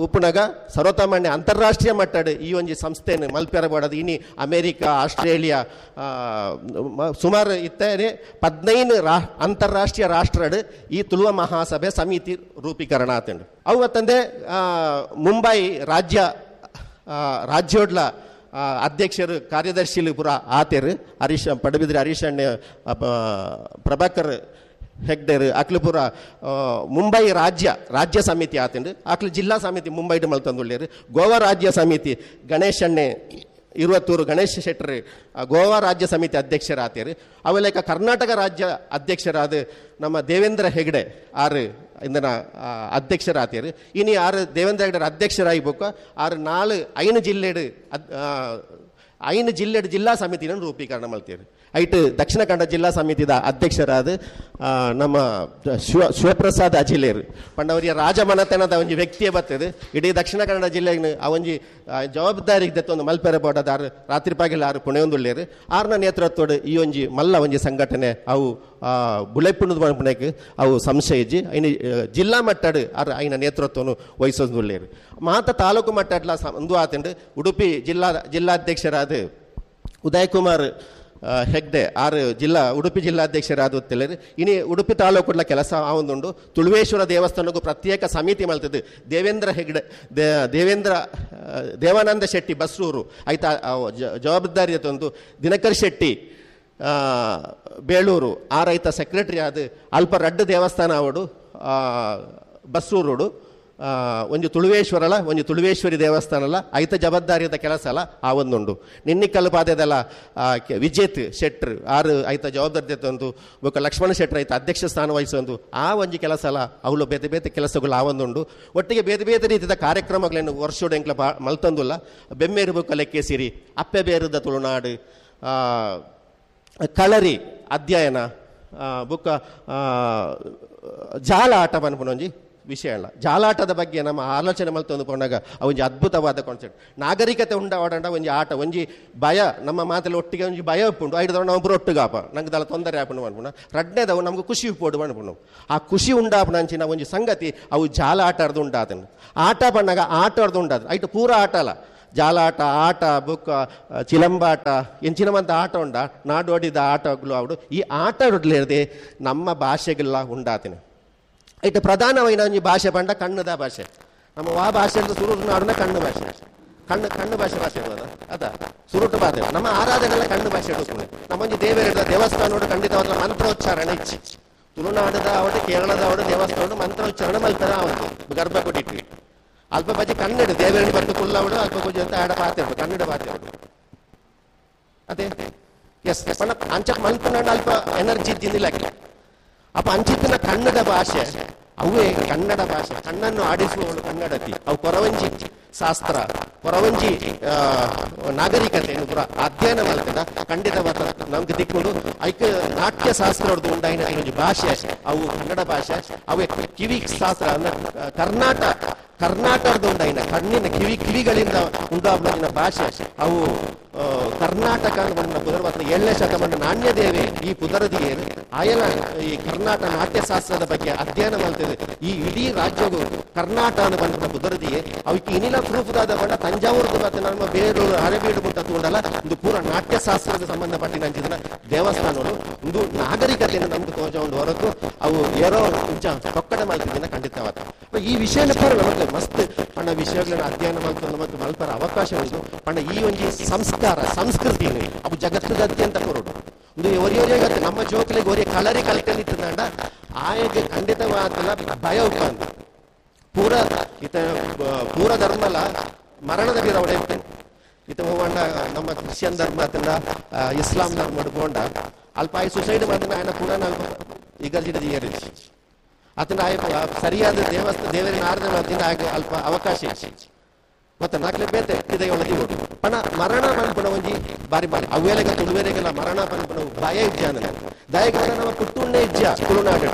A: ಉಪ್ಪುನಾಗ ಸರ್ವೋತ್ತಮಣ್ಣೆ ಅಂತಾರಾಷ್ಟ್ರೀಯ ಮಟ್ಟಡ್ ಈ ಒಂಜಿ ಸಂಸ್ಥೆಯನ್ನು ಮಲ್ಪೆರಬಾಡದು. ಇನಿ ಅಮೇರಿಕಾ ಆಸ್ಟ್ರೇಲಿಯಾ ಸುಮಾರು ಇತ್ತೇ 15 ಅಂತಾರಾಷ್ಟ್ರೀಯ ರಾಷ್ಟ್ರಡ್ ಈ ತುಳುವ ಮಹಾಸಭೆ ಸಮಿತಿ ರೂಪೀಕರಣ ಆತಂಡು. ಅವು ಮತ್ತಂದೆ ಮುಂಬೈ ರಾಜ್ಯೋಡ್ಲ ಅಧ್ಯಕ್ಷರು ಕಾರ್ಯದರ್ಶಿಲು ಪುರ ಆತೇರು ಹರೀಶ್ ಪಡಬಿದ್ರಿ ಹರೀಶ್ ಅಣ್ಣೆ ಪ್ರಭಾಕರ್ ಹೆಗ್ಡೇರು ಅಕ್ಲುಪುರ ಮುಂಬೈ ರಾಜ್ಯ ಸಮಿತಿ ಆತಂಡು. ಅಕ್ಲು ಜಿಲ್ಲಾ ಸಮಿತಿ ಮುಂಬೈಡು ಮಲ್ತಂದುಳ್ಳೇರು. ಗೋವಾ ರಾಜ್ಯ ಸಮಿತಿ ಗಣೇಶ್ ಅಣ್ಣೆ ಇರುವತ್ತೂರು ಗಣೇಶ್ ಶೆಟ್ಟರ್ ಗೋವಾ ರಾಜ್ಯ ಸಮಿತಿ ಅಧ್ಯಕ್ಷರಾತೇರು. ಅವೆಲ್ಲ ಕರ್ನಾಟಕ ರಾಜ್ಯ ಅಧ್ಯಕ್ಷರಾದ ನಮ್ಮ ದೇವೇಂದ್ರ ಹೆಗ್ಡೆ ಆರು ಇಂದನ ಅಧ್ಯಕ್ಷರಾತೇರು. ಇನಿ ಆರು ದೇವೇಂದ್ರ ಹೆಗ್ಡೆ ಅಧ್ಯಕ್ಷರಾಗಿಬೇಕು ಆರು 4 5 ಜಿಲ್ಲೆಡು 5 ಜಿಲ್ಲೆಡು ಜಿಲ್ಲಾ ಸಮಿತಿನ ರೂಪೀಕರಣ ಮಾಡ್ತೀರಿ. ಐಟ್ ದಕ್ಷಿಣ ಕನ್ನಡ ಜಿಲ್ಲಾ ಸಮಿತಿದ ಅಧ್ಯಕ್ಷರಾದ ನಮ್ಮ ಶಿವಪ್ರಸಾದ್ ಅಜಿಲೇರು ಪಂಡವರಿಯ ರಾಜಮನತನದ ಒಂಜಿ ವ್ಯಕ್ತಿಯೇ ಬರ್ತದೆ. ಇಡೀ ದಕ್ಷಿಣ ಕನ್ನಡ ಜಿಲ್ಲೆಗೆ ಆ ಒಂಜಿ ಜವಾಬ್ದಾರಿ ಒಂದು ಮಲ್ಪೆರೆ ಬೋಡದ ಆರು ರಾತ್ರಿ ಪಗಲು ಆರು ಪುಣೆಯೊಂದುಳ್ಳೇರು. ಆರ್ನ ನೇತೃತ್ವದ ಈ ಒಂಜಿ ಮಲ್ಲ ಒಂಜಿ ಸಂಘಟನೆ ಅವು ಬುಳೆಪುಣದ ಪುಣೆಗೆ ಅವು ಸಂಶಯ ಇಜ್ಜಿ ಐನ ಜಿಲ್ಲಾ ಮಟ್ಟಡ್ ಆರು ಐನ ನೇತೃತ್ವವನ್ನು ವಹಿಸೊಂದುಳ್ಳೇರು. ಮಾತ ತಾಲೂಕು ಮಟ್ಟಡ್ಲ ಒಂದು ಆತಂಡು ಉಡುಪಿ ಜಿಲ್ಲಾಧ್ಯಕ್ಷರಾದ ಉದಯಕುಮಾರ್ ಹೆಗ್ಡೆ ಆರು ಉಡುಪಿ ಜಿಲ್ಲಾಧ್ಯಕ್ಷರಾದ ತಿಳಿರಿ. ಇನಿ ಉಡುಪಿ ತಾಲೂಕುಡ್ಲ ಕೆಲಸ ಆವೊಂದುಂಡು. ತುಳುವೇಶ್ವರ ದೇವಸ್ಥಾನಕ್ಕೂ ಪ್ರತ್ಯೇಕ ಸಮಿತಿ ಮಲ್ತದ್ದು ದೇವೇಂದ್ರ ಹೆಗ್ಡೆ ದೇವಾನಂದ ಶೆಟ್ಟಿ ಬಸ್ರೂರು ಆಯ್ತಾ ಜವಾಬ್ದಾರಿ ತಂದು ದಿನಕರ್ ಶೆಟ್ಟಿ ಬೇಳೂರು ಆ ರೈತ ಸೆಕ್ರೆಟರಿ ಆದ ಅಲ್ಪ ರಡ್ಡು ದೇವಸ್ಥಾನ ಅವಡು ಬಸ್ರೂರುಡು ಒಂಜಿ ತುಳುವೇಶ್ವರಲ್ಲ ಒಂಜಿ ತುಳುವೇಶ್ವರಿ ದೇವಸ್ಥಾನಲ್ಲ ಐತ ಜವಾಬ್ದಾರಿಯದ ಕೆಲಸ ಅಲ್ಲ ಆ ಒಂದುಂಡು. ನಿನ್ನಿಕ್ಕಲ್ಲು ಪಾದೆದಲ್ಲ ವಿಜೇತ್ ಶೆಟ್ರು ಆರು ಐತ ಜವಾಬ್ದಾರಿ ತಂದು ಬೊಕ್ಕ ಲಕ್ಷ್ಮಣ ಶೆಟ್ರು ಐತ ಅಧ್ಯಕ್ಷ ಸ್ಥಾನ ವಹಿಸೊಂದು ಆ ಒಂಜಿ ಕೆಲಸ ಅಲ್ಲ ಅವಳು ಬೇತೆ ಬೇತೆ ಕೆಲಸಗಳು ಆ ಒಂದುಂಡು. ಒಟ್ಟಿಗೆ ಬೇತೆ ಬೇತೆ ರೀತಿಯ ಕಾರ್ಯಕ್ರಮಗಳನ್ನು ವರ್ಷೋಡು ಎಂಕ್ಲ ಮಲ್ತಂದುಲ್ಲ. ಬೆಮ್ಮೇರು ಬೊಕ್ಕ ಲೆಕ್ಕೆ ಸಿರಿ ಅಪ್ಪೆ ಬೇರುದ ತುಳುನಾಡು ಕಳರಿ ಅಧ್ಯಯನ ಬೊಕ್ಕ ಜಾಲ ಆಟ ಪನ್ಪುನೊಂಜಿ ವಿಷಯ ಅಲ್ಲ. ಜಾಲಾಟದ ಬಗ್ಗೆ ನಮ್ಮ ಆಲೋಚನೆ ಮಲ್ತೊಂದು ಪೋನಾಗ ಒಂಜಿ ಅದ್ಭುತವಾದ ಕಾನ್ಸೆಪ್ಟ್. ನಾಗರಿಕತೆ ಉಂಡಾವಡಂಡ ಒಂಜಿ ಆಟ, ಒಂಜಿ ಭಯ, ನಮ್ಮ ಮಾತಲ್ಲಿ ಒಟ್ಟಿಗೆ ಒಂಜಿ ಭಯ ಉಪ್ಪುಂಡು. ಐಡ್ದವ ನಾವು ಒಟ್ಟುಗಾಪ ನಂಗೆ ದಲ ತೊಂದರೆ ಆಪುಂಡು ಅನ್ಪುಣ. ರಡ್ಡನೇದವು ನಮ್ಗೆ ಖುಷಿ ಉಪ್ಪೋಡು ಅನ್ಪುಂಡು. ಆ ಖುಷಿ ಉಂಡಾಪುಣ ಅಂಚಿನ ಒಂಜಿ ಸಂಗತಿ ಅವು ಜಾಲ ಆಟ ಆಡ್ದು ಉಂಡಾತನು. ಆಟ ಪಣ್ಣಾಗ ಆಟ ಆಡ್ದು ಉಂಡಾದ ಐಟು ಪೂರ ಆಟ ಅಲ್ಲ, ಜಾಲಾಟ ಆಟ ಬುಕ್ಕ ಚಿಲಂಬಾಟ ಎಂಚಿನವಂತ ಆಟ ಉಂಡ ನಾಡೋಡಿದ ಆಟಗಳು ಅವಡು. ಈ ಆಟ ಆಡಲಿರದೆ ನಮ್ಮ ಭಾಷೆಗೆಲ್ಲ ಉಂಡಾತಿನ. ಇಟ್ಟು ಪ್ರಧಾನವಾಯಿನ ಒಂಜಿ ಭಾಷೆ ಪಂಡ ಕಣ್ಣದ ಭಾಷೆ. ನಮ್ಮ ವಾ ಭಾಷೆ ಅಂತ ಸುರುಟು ನಾಡುನ ಕಣ್ಣು ಭಾಷೆ, ಕಣ್ಣು ಕಣ್ಣು ಭಾಷೆ ಭಾಷೆ ಅದ ಸುರುಟು ಭಾಷೆ. ನಮ್ಮ ಆರಾಧನೆಲ್ಲ ಕಣ್ಣು ಭಾಷೆ ಉಪ್ಪುನೆ. ನಮ್ಮೊಂಜಿ ದೇವರ ದೇವಸ್ಥಾನ ಖಂಡಿತವಾದ ಮಂತ್ರೋಚ್ಚಾರಣೆ ಇಚ್ಚಿ. ತುಳುನಾಡದ ಅವಡು ಕೇರಳದ ಅವಡು ದೇವಸ್ಥಾನ ಮಂತ್ರೋಚ್ಚಾರಣೆ ಮಲ್ಪರ ಅವನು ಗರ್ಭಗುಡಿ ಅಲ್ಪ ಬಜಿ ಕನ್ನಡ ದೇವರನ್ನು ಬಂದು ಕುಲ್ಲವಡು ಅಲ್ಪ ಪೂಜೆ ಅಂತ ಆಡ ಪಾತೆ ಉಂಟು, ಕನ್ನಡ ಪಾತೆ ಉಂಟು. ಅದೇ ಎಸ್ ಪಂಡ ಅಂಚಕ್ ಮಲ್ಪನ ಅಲ್ಪ ಎನರ್ಜಿ ಇದ್ದಿಲ್ಲ. ಅಪ್ಪ ಅಂಚಿತ್ತಿನ ಕನ್ನಡ ಭಾಷೆ ಅವೇ ಕನ್ನಡ ಭಾಷೆ. ಕಣ್ಣನ್ನು ಆಡಿಸುವವಳು ಕನ್ನಡತಿ. ಅವು ಕೊರವಂಜಿ ಶಾಸ್ತ್ರ, ಕೊರವಂಜಿ ನಾಗರಿಕತೆಯನ್ನು ಪೂರ ಅಧ್ಯಯನ ಮಾಡ್ತದ ಖಂಡಿತವಾದ ನಮ್ಗೆ ದಿಕ್ಕೊಂಡು ಐಕ ನಾಟ್ಯ ಶಾಸ್ತ್ರ ಉಂಡಾಯಿನ ಒಂಜಿ ಭಾಷೆ ಅವು ಕನ್ನಡ ಭಾಷೆ. ಅವೇ ಕಿವಿ ಶಾಸ್ತ್ರ ಅಂದ್ರೆ ಕರ್ನಾಟಕದ ಉಂಡಾಯಿನ ಕಣ್ಣಿನ ಕಿವಿಗಳಿಂದ ಉಂಡಾದ ಭಾಷೆ ಅವು ಕರ್ನಾಟಕ ಪುದರ್ ಮಾತ್ರ 7ನೇ ಶತಮಾನ ನಾಣ್ಯದೇವಿ ಈ ಪುದರದಿಗೆ ಆಯನ ಈ ಕರ್ನಾಟಕ ನಾಟ್ಯಶಾಸ್ತ್ರದ ಬಗ್ಗೆ ಅಧ್ಯಯನ ಮಾಡ್ತದೆ. ಈ ಇಡೀ ರಾಜ್ಯವು ಕರ್ನಾಟಕ ಬಂದ ಪುದರದಿಗೆ ಅವಕ್ಕೆ ಇನಿಲ ಪ್ರೂಫ್ ದಾದ ಬಣ್ಣ ತಂಜಾವೂರ್ದು ಮತ್ತೆ ನಮ್ಮ ಬೇರೂರು ಹಳೆಬೀಡು ಮುಟ್ಟ ತಗೊಂಡಲ್ಲ ಒಂದು ಪೂರ ನಾಟ್ಯಶಾಸ್ತ್ರದ ಸಂಬಂಧಪಟ್ಟಿನ ಅಂಚಿನ ದೇವಸ್ಥಾನಗಳು ಒಂದು ನಾಗರಿಕತೆಯನ್ನು ನಮ್ಗೆ ತೋಜ ಒಂದು ಹೊರತು ಅವು ಏರೋ ಇಂಚ ತೊಕ್ಕಡೆ ಮಾಡ್ತಿದ್ದೀನ ಖಂಡಿತವಾದ. ಈ ವಿಷಯನ ಪೂರ ನಮಗೆ ಮಸ್ತ್ ಪಂಡ ವಿಷಯಗಳನ್ನ ಅಧ್ಯಯನ ಮಾಡ್ಕೊಂಡು ಮತ್ತು ಮಲ್ಪರ ಅವಕಾಶ ಉಂಟು. ಪಂಡ ಈ ಒಂಜಿ ಸಂಸ್ಕಾರ ಸಂಸ್ಕೃತಿ ಅವು ಜಗತ್ತದಾದ್ಯಂತ ಕೊರಡು ಒಂದು ಒರಿಯೊರಿಯ ನಮ್ಮ ಜೋಕಲಿಗೆ ಒರಿಯ ಕಲರಿ ಕಲ್ಕಲಿತ್ತಂಡ ಆಯಗೆ ಖಂಡಿತವಾದ ಭಯ ಉಪ್ಪಂದು ಪೂರ ಇತ ಪೂರ ಧರ್ಮಲ ಮರಣದ ಬೀರ ಒಡೆ ಇತ ಹೋಗೊಂಡ ನಮ್ಮ ಕ್ರಿಶ್ಚಿಯನ್ ಧರ್ಮ ಅತಂಡ ಇಸ್ಲಾಂ ಧರ್ಮ ಹಿಡ್ಕೊಂಡ ಅಲ್ಪ ಆಯ್ ಸುಸೈಡ್ ಮಾಡಿದ ಆಯನ ಪೂರ ಇಗರ್ಜಿಡ ಜಿಯರಿಸಿ ಆತನ ಆಯ ಸರಿಯಾದ ದೇವಸ್ಥಾನ ದೇವರಿನ ಆರಾಧನೆ ಮಾಡ್ತಿಂದ ಆಗ ಅಲ್ಪ ಅವಕಾಶ ಮತ್ತೆ ನಾಲ್ಕಲೆ ಬೇತೆ ಇದೆ ಒಳಗೆ ಪಣ ಮರಣ ಪನ್ಪುಣ ಒಂಜಿ ಬಾರಿ ಬಾರಿ ಅವೇಲೆಗ ತುಳುವೆರೆಗೆಲ್ಲ ಮರಣ ಪನ್ಪುಣ ಭಯ ಇಜ್ಜಾನ ದಯಗಾನ ನಮ್ಮ ಪುಟ್ಟುಣ್ಣೆ ಇಜ್ಜ ತುಳುನಾಡು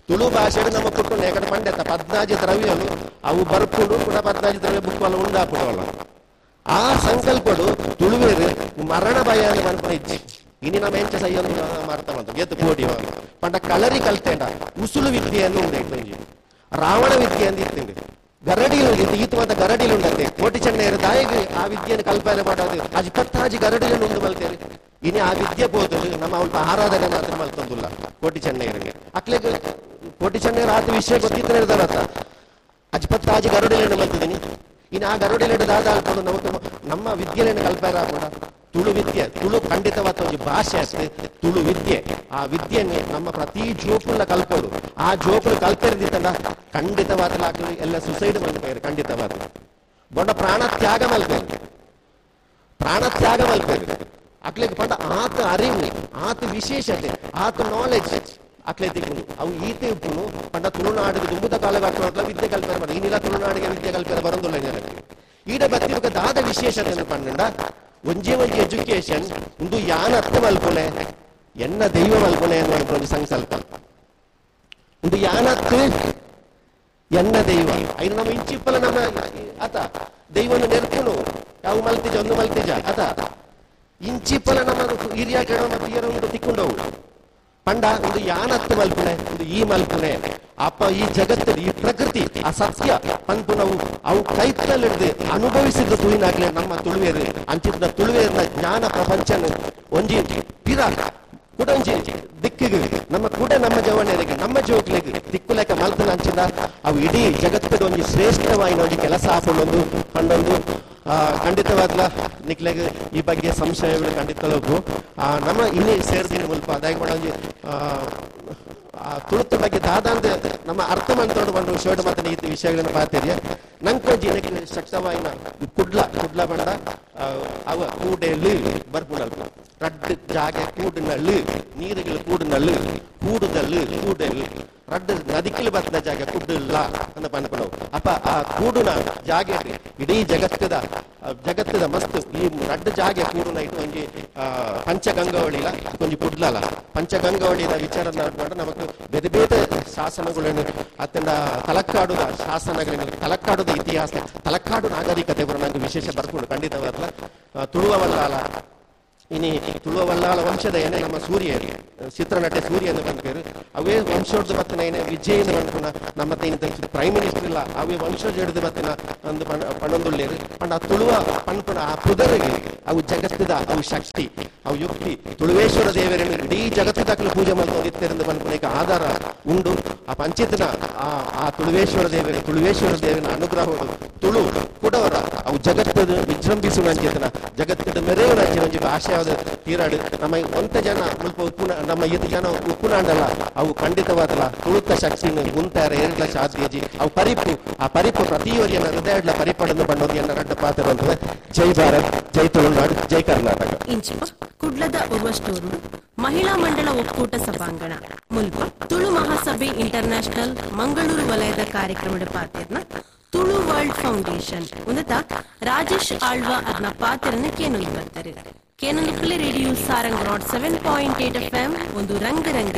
A: ತುಳು ಭಾಷೆ ನಮ್ಮ ಪುಟ್ಟುಣ್ಣೆ ಯಾಕಂದ್ರೆ ಪಂಡೆತ 14 ದ್ರವ್ಯಲು ಅವು ಬರ್ಪುಡು ಕೂಡ 14 ದ್ರವ್ಯ ಬುಕ್ಕಲ್ಲ ಉಂಡಾಪುಡವಲ್ಲ. ಆ ಸಂಕಲ್ಪಡು ತುಳುವೇರು ಮರಣ ಭಯ ಪನ್ಪುಣ ಇಜ್ಜಿ. ಇನಿ ನಮ್ಮ ಎಂಚ ಸೈಯೊಂದು ಮಾರ್ತಾ ಬಂತು ಎತ್ತು ಪೋಡಿ ಪಂಡ ಕಲರಿ ಕಲ್ತೇಂಡ ಉಸುಲು ವಿದ್ಯೆಯನ್ನು ಉಂಡಾಯ್ತು ಒಂಜಿ ರಾವಣ ವಿದ್ಯೆ ಅಂತ ಇತ್ತಂಗೆ ಗರಡಿಲು ಈತವಾದ ಗರಡಿಲು ಉಂಡಂತೆ ಕೋಟಿ ಚೆನ್ನೈಯರು ದಾಯಿಗೆ ಆ ವಿದ್ಯೆಯನ್ನು ಕಲ್ಪನೆ ಮಾಡೋದು ಅಜ್ ಪತ್ತಾಜಿ ಗರಡಿలను ಉಂಡು ಮಲ್ತೇವೆ. ಇನಿ ಆ ವಿದ್ಯೆ ಬೋದು ನಮ್ಮ ಅಲ್ಪ ಆರಾಧನೆ ಮಾತ್ರ ಮಲ್ತೊಂದುಲ್ಲ ಕೋಟಿ ಚೆನ್ನೈಯರಿಗೆ. ಅಕ್ಲೆಗ್ ಕೋಟಿ ಚೆನ್ನೈಯರು ಆತ ವಿಷಯ ಗೊತ್ತಿತ್ತನೇ ಇರ್ತಾರತ್ತ ಅಜ್ ಪತ್ತಾಜಿ ಗರಡಿలను ಮಲ್ತಿದ್ದೀನಿ. ಇನ್ನು ಆ ಗರಡಿಲೆಡು ದಾದ ಅಲ್ಕೊಂಡು ನಮ್ಮ ನಮ್ಮ ವಿದ್ಯೆಯನ್ನು ಕಲ್ಪನೆ ಆಗೋಣ. ತುಳು ವಿದ್ಯೆ ತುಳು ಖಂಡಿತವಾದ ಒಂದು ಭಾಷೆ ಅಷ್ಟೇ ತುಳು ವಿದ್ಯೆ. ಆ ವಿದ್ಯೆಯನ್ನು ನಮ್ಮ ಪ್ರತಿ ಜೋಕುಲ ಕಲ್ಪೋಡು. ಆ ಜೋಕುಲು ಕಲ್ಪೆರ್ದಿತ್ತಲ್ಲ ಖಂಡಿತವಾದ ಎಲ್ಲ ಸುಸೈಡ್ ಮಲ್ಪೇರು ಖಂಡಿತವಾದ ಬೊಂಡ ಪ್ರಾಣ ತ್ಯಾಗ ಮಲ್ಪೇರು ಪ್ರಾಣ ತ್ಯಾಗ ಮಲ್ಪೇರು ಅಕ್ಲೆಗ್ ಪಂಡ ಆತ ಅರಿವು ಆತ ವಿಶೇಷತೆ ಆತ ನಾಲೆಜ್ ಅಕ್ಲೆ ತಿಕ್ಕುನು ಅವು ಈತೆ ಉಪ್ಪುನು ಪಂಡ ತುಳುನಾಡಿಗೆ ದುಂಬುದ ಕಾಲಘಟ್ಟದ ವಿದ್ಯೆ ಕಲ್ಪನೆ ಮಾಡಿ ಇನ್ನಿಲ್ಲ ತುಳುನಾಡಿಗೆ ವಿದ್ಯೆ ಕಲ್ಪನೆ ಬರಂದುಲ್ಲ ಜನಕ್ಕೆ. ಈಡ ಬತ್ತಿರುಕ ದಾದ ವಿಶೇಷತೆ ಪಂಡ ಒಂಜೇ ಒಂಜಿ ಎಜುಕೇಶನ್ ಒಂದು ಯಾನ ಅರ್ಥ ಮಲ್ಪುನೆ ಎನ್ನ ದೈವ ಮಲ್ಪುನೆ ಅನ್ನುವ ಒಂದು ಸಂಕಲ್ಪ ಒಂದು ಯಾನತ್ತು ಎನ್ನ ದೈವ ಐನು ನಮ್ಮ ಇಂಚಿಪ್ಪಲ ನಮ್ಮ ಆತ ದೈವನ ನೆರ್ಪುನು ಯಾವ ಮಲ್ತಿಜ ಒಂದು ಮಲ್ತಿಜ ಆತ ಇಂಚಿಪ್ಪಲ ನಮ್ಮ ಹಿರಿಯ ಕೆಡ ಮತ್ತು ಹಿರಿಯರ ಉಂಟು ತಿಕ್ಕೊಂಡವು ಪಂಡ ಒಂದು ಯಾನತ್ತು ಮಲ್ಪುನೆ ಒಂದು ಈ ಮಲ್ಪುನೆ ಅಪ್ಪ ಈ ಜಗತ್ತು ಈ ಪ್ರಕೃತಿ ಆ ಸತ್ಯ ಪನ್ಪುನವು ಅವು ಕೈತಲ್ಲಿಡ್ದು ಅನುಭವಿಸಿದ ತುಳಿನಾಗ್ಲೆ ನಮ್ಮ ತುಳುವೇರು ಅಂಚಿದ ತುಳುವೇರಿನ ಜ್ಞಾನ ಪ್ರಪಂಚನ ಒಂಜಿ ಪಿರ ಕೂಡ ಒಂಜಿ ದಿಕ್ಕಿಗೆ ನಮ್ಮ ಕೂಡ ನಮ್ಮ ಜವಣರಿಗೆ ನಮ್ಮ ಜೋಕ್ಲಿಗೆ ದಿಕ್ಕುಲೆಕ್ಕ ಮಲ್ತನ ಅಂಚಿದ ಅವು ಇಡೀ ಜಗತ್ತದ ಒಂಜಿ ಶ್ರೇಷ್ಠವಾಯಿನ ಒಂಜಿ ಕೆಲಸ ಹಾಕೊಂಡೊಂದು ಪಂಡೊಂದು ಖಂಡಿತವಾಗ್ಲ ನಿಕ್ಲೆಗ್ ಈ ಬಗ್ಗೆ ಸಂಶಯಗಳು ಖಂಡಿತವಾಗ್ಲು ನಮ್ಮ ಇನ್ನೇ ಸೇರ್ದಿನ ಮುಲ್ಪ ಅದಾಗಿ ಒಂಜಿ ತುಳುತ್ತ ಬಗ್ಗೆ ದಾದಾಂದ ನಮ್ಮ ಅರ್ಥ ಮಾಡ್ಕೊಂಡು ಬಂದು ಶರ್ಟ್ ಮತ್ತೆ ಈ ವಿಷಯಗಳನ್ನು ಪಾತೇರಿಯ ನಂಕೊಂಜಿ ಶಕ್ತವಾಯಿನ ಕುಡ್ಲ ಕುಡ್ಲ ಬಂಡ ಅವ ಕೂಡೆಲಿ ಬರ್ಪುಂಡಲ್ಪ ರಡ್ಡ್ ಜಾಗೆ ಕೂಡಿನಳ್ಳು, ನೀರುಗಳು ಕೂಡಿನಳ್ಳು, ಕೂಡುದಲ್ಲು, ಕೂಡಲ್, ರಡ್ಡ್ ನದಿಕಲು ಬತ್ತಿನ ಜಾಗ ಕುಡ್ಡುಲ್ಲ ಅಂತ ಪನ್ಪುನವು. ಅಪ್ಪ ಆ ಕೂಡುನ ಜಾಗೆ ಇಡೀ ಜಗತ್ತದ ಜಗತ್ತದ ಮಸ್ತ್ ಈ ರಡ್ಡ್ ಜಾಗೆ ಕೂಡುನ ಇಟ್ಟು ಒಂಜಿ ಪಂಚಗಂಗಾವಳಿಲ ಒಂಜಿ ಕುಡ್ಲಲ. ಪಂಚಗಂಗಾವಳಿದ ವಿಚಾರ ಮಾಡ್ಕೊಂಡು ನಮಕ್ ಬೇರೆ ಬೇರೆ ಶಾಸನಗಳನ್ನು ಅತ್ತಂಡ ತಲಕ್ಕಾಡುದ ಶಾಸನಗಳನ್ನು, ತಲಕ್ಕಾಡುದ ಇತಿಹಾಸ, ತಲಕ್ಕಾಡು ನಾಗರಿಕತೆ ಬರೋ ನಂಗೆ ವಿಶೇಷ ಬರ್ಕೊಂಡು ಖಂಡಿತವಾಗ್ಲ. ತುಳುವ ವಲ್ಲಾಲ, ಇನಿ ತುಳುವ ವಲ್ಲಾಳ ವಂಶದ ಏನೇ ನಮ್ಮ ಸೂರ್ಯ, ಚಿತ್ರನಟೆ ಸೂರ್ಯ ಎಂದು ಬಂದ್ಪೇರು, ಅವೇ ವಂಶೋರ್ದು ಬತ್ತಿನ ಏನೇ ವಿಜಯ್ ಎಂದು ಬಂದ್ಪುನ ನಮ್ಮ ಪ್ರೈಮ್ ಮಿನಿಸ್ಟರ್ ಇಲ್ಲ, ಅವೇ ವಂಶೋಜ ಹಿಡಿದು ಬತ್ತಿನ ಒಂದು ಪಣೊಂದುಳ್ಳೇರು. ಪಂಡ ಆ ತುಳುವ ಪನ್ಪುನ ಆ ಪುದರಿಗೆ ಅವು ಜಗತ್ತದ ಅವು ಶಕ್ತಿ, ಅವು ಯುಕ್ತಿ. ತುಳುವೇಶ್ವರ ದೇವರನ್ನು ಇಡೀ ಜಗತ್ತದಾಗಲೂ ಪೂಜೆ ಮಾಡ್ಕೊಂಡು ಪನ್ಪುನ ಆಧಾರ ಉಂಡು. ಆ ಪಂಚಿತನ ಆ ಆ ತುಳುವೇಶ್ವರ ದೇವರ, ತುಳುವೇಶ್ವರ ದೇವನ ಅನುಗ್ರಹವು ತುಳು ಕುಡವರ ಅವು ಜಗತ್ತದ ವಿಜೃಂಭಿಸುವ ಅಂಚೆತನ ಜಗತ್ತದ ಮೆರೆಯುವ ಅಂಚಿನ ಒಂಜಿ ಆಶಯವಾದ ತೀರಾಡು. ನಮ್ಮ ಒಂತ ಜನ ಮುಲ್ಪ ಉಪ್ಪುನ, ನಮ್ಮ ಇತ್ ಜನ ಉಪ್ಪುನಾಂಡಲ್ಲ, ಅವು ಖಂಡಿತವಾದಲ್ಲ ತುಳುತ ಶಕ್ತಿನ ಉಂತಾರ ಎರಡ್ಲ ಸಾಧ್ಯಜಿ. ಅವು ಪರಿಪು, ಆ ಪರಿಪು ಪ್ರತಿಯೊರಿಯನ ಹೃದಯಡ್ಲ ಪರಿಪಡನ್ನು ಬಣ್ಣೋದು ಎನ್ನ ರಡ್ಡ ಪಾತ್ರ. ಜೈ ಭಾರತ್, ಜೈ ತುಳುನಾಡು, ಜೈ ಕರ್ನಾಟಕ.
B: ಇಂಚಿಪ ಕುಡ್ಲದ ಉರ್ವಷ್ಟೂರು ಮಹಿಳಾ ಮಂಡಳ ಒಕ್ಕೂಟ ಸಭಾಂಗಣ ಮುಲ್ಪ ತುಳು ಮಹಾಸಭೆ ಇಂಟರ್ನ್ಯಾಷನಲ್ ಮಂಗಳೂರು ವಲಯದ ಕಾರ್ಯಕ್ರಮದ ಪಾತ್ರನ ತುಳು ವರ್ಲ್ಡ್ ಫೌಂಡೇಶನ್ ಉನ್ನತ ರಾಜೇಶ್ ಆಳ್ವ ಅರ್ನ ಪಾತ್ರನ ಕೇನೊಂದು ಬರ್ತಾರೆ. ಕೇನೊಂದು radio Sarang 7.8 FM ಒಂದು ರಂಗ ರಂಗ.